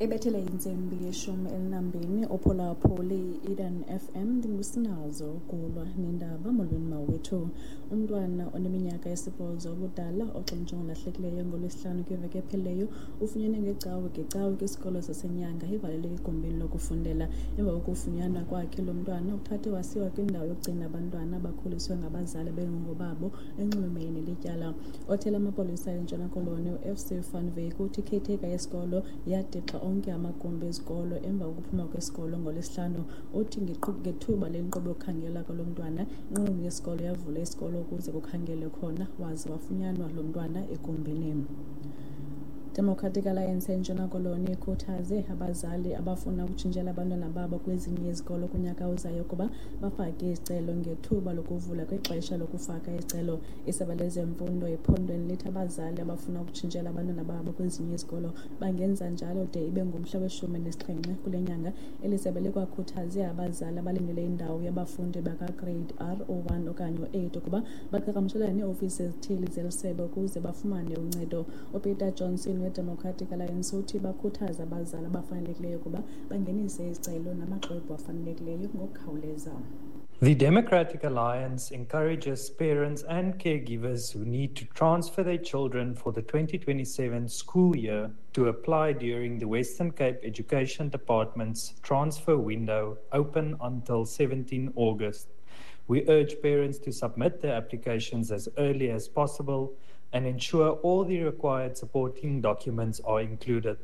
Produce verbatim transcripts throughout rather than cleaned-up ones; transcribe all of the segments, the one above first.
Ebethele intsimbi yeshumi elinambini uphulaphuli Eden F M ndingusinazo kulwa nendaba. Molweni mawethu. Umntwana oneminyaka esibhozo ubudala oxintsho ngolahlekileyo ngolwesihlanu kwiveki ephelileyo ufunyenwe ngecawe ngecawe kwisikolo saseNyanga ivalelwe egumbini lokufundela. Emva kokufunyanwa kwakhe lo mntwana uthathwe wasiwa kwindawo yokugcina abantwana abakhuliswe ngabazali bengongobabo enxulumene nelityala. Othela amapolisa eNtshona Koloni u-F C Van Wyk uthi ikhetheka yesikolo yadixa onke amagumbi ezikolo emva kokuphuma kwesikolo ngolwesihlanu. Uthi ngethuba lenkqubo yokukhangela kwalo mntwana, inqununu yesikolo yavula isikolo ukuze kukhangelwe khona, waze wafunyanwa lo mntwana egumbini. Democratic Alliance eNtshona Koloni ikhuthaze abazali abafuna ukutshintshela abantwana babo kwezinye izikolo kunyaka ozayo ukuba bafake izicelo ngethuba lokuvula kwixesha lokufaka izicelo. Isebe lezemfundo ephondweni lithi abazali abafuna ukutshintshela abantwana babo kwezinye izikolo bangenza njalo de ibe ngumhla weshumi nesixhenxe kule nyanga. Eli sebe likwakhuthaze abazali abalindele indawo yabafundi bakaGrade R o one okanye o eight ukuba baqhagamshelane neeofisi ezithile zeli sebe ukuze bafumane uncedo. UPeter Johnson weDemocratic Alliance uthi bakhuthaza abazali abafanelekileyo ukuba bangenise izicelo namaxwebhu afanelekileyo ngokukhawuleza. The Democratic Alliance encourages parents and caregivers who need to transfer their children for the twenty twenty-seven school year to apply during the Western Cape Education Department's transfer window open until seventeenth August. We urge parents to submit their applications as early as possible and ensure all the required supporting documents are included.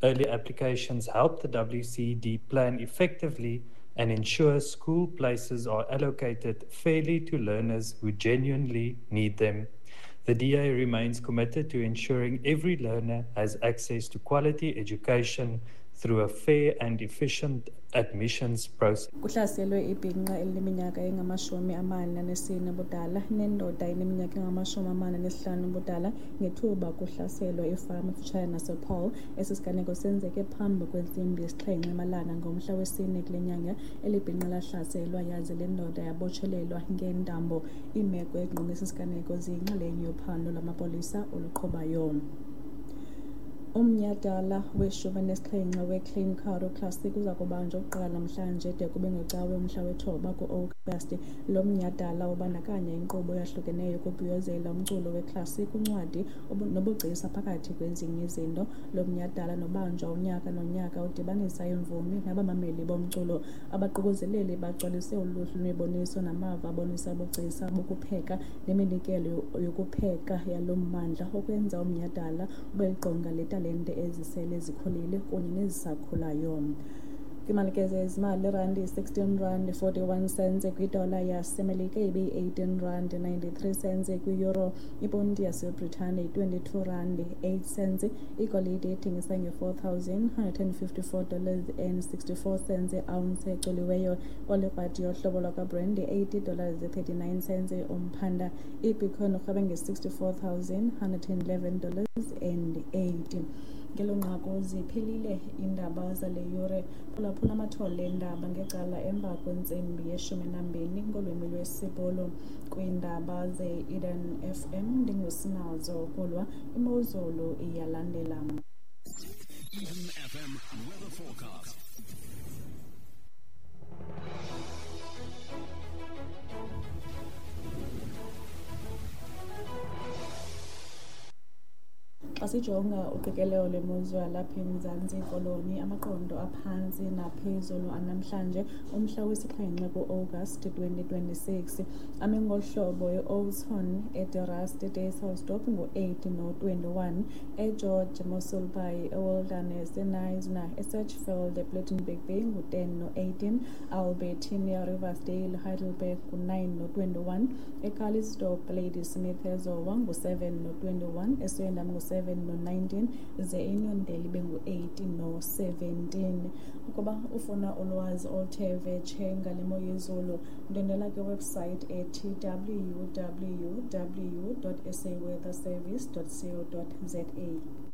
Early applications help the W C D plan effectively and ensure school places are allocated fairly to learners who genuinely need them. The D A remains committed to ensuring every learner has access to quality education through a fair and efficient admissions process. Kuhlaselwe ibhinqa elineminyaka engamashumi amane anesine ubudala nendoda eneminyaka engamashumi amane anesihlanu ubudala ngethuba kuhlaselwa ifama efutshane nasePaul. Esi siganeko senzeke phambi kwentsimbi yesixhenxe emalanga ngomhla wesine kule nyanga. Eli bhinqa lahlaselwa yaze le ndoda yabotshelelwa ngeentambo. Iimeko ezingqonge esi siganeko ziyinxalenye yophando lwamapolisa oluqhubayo. Umnyhadala weshumi nesixhenxe weClean Karoo Classic uza kubanjwa ukuqala namhlanje de kube ngecawe umhla wethoba ku-Agasti. Lo mnyhadala ubandakanya inkqubo eyahlukeneyo yokubhiyozela umculo weclassic, uncwadi nobugcisa phakathi kwezinye izinto. Lo mnyhadala nobanjwa unyaka nonyaka udibanisa iimvumi nabamameli bomculo. Abaququzeleli bagcwalise uluhlu lwemiboniso namava abonisa ubugcisa bokupheka neminikelo yokupheka yalo mmandla okwenza umnyhadala ube liqonga letalente ezisele zikhulile kunye nezisakhulayo. Kwimalike zezimali, irandi sixteen rand forty-one cents kwidola yaseMelika ibe eighteen rand ninety-three cents kwi-euro, iponti yaseBritane twenty-two rand eight cents, igolide ithengisa nge-four thousand hundred and fifty-four dollars and sixty-four cents i-ounce ecoliweyo. Olikrwadi yohlobo lwakwaBrand eighty dollars thirty-nine cents umphanda. IBitcoin urhweba nge-sixty-four thousand hundred and eleven dollars and eighty. Ngelo nqaku ziphelile iindaba zale yure. Phulaphula amathole eendaba ngecala emva kwentsimbi yeshumi nambini ngolwimi lwesiBhulu. Kwiindaba ze-Eden F M ndingusinazo kulwa imozulu iyalandela. Eden F M weather forecast. Xa sijonga uqikelelo lwemozulu yalapha eMzantsi Koloni, amaqondo aphantsi naphezulu anamhlanje umhla wesixhenxe ku-August twenty twenty-six ame ngolu hlobo: e-Oudtshoorn, eDe-Rust, eDysselsdorp ngu-eight no-twenty-one, eGeorge, Mossel Bay, eWilderness, eKnysna, eSedgefield, ePlettenberg Bay ngu-ten no-eighteen, Albertinia, Riversdale, Heidelberg ngu-nine no-twenty-one, eCalitzdorp, Ladysmith, eZowa ngu-seven no-twenty-one, eSwellendam ngu-seven no nineteen, ze iNyondele ibe ngu-eight no seventeen. Ukuba ufuna ulwazi oluthe vetshe ngale mo yezulu, ndwendwela kwiwebsite ethi w w w dot s a weather service dot co dot z a.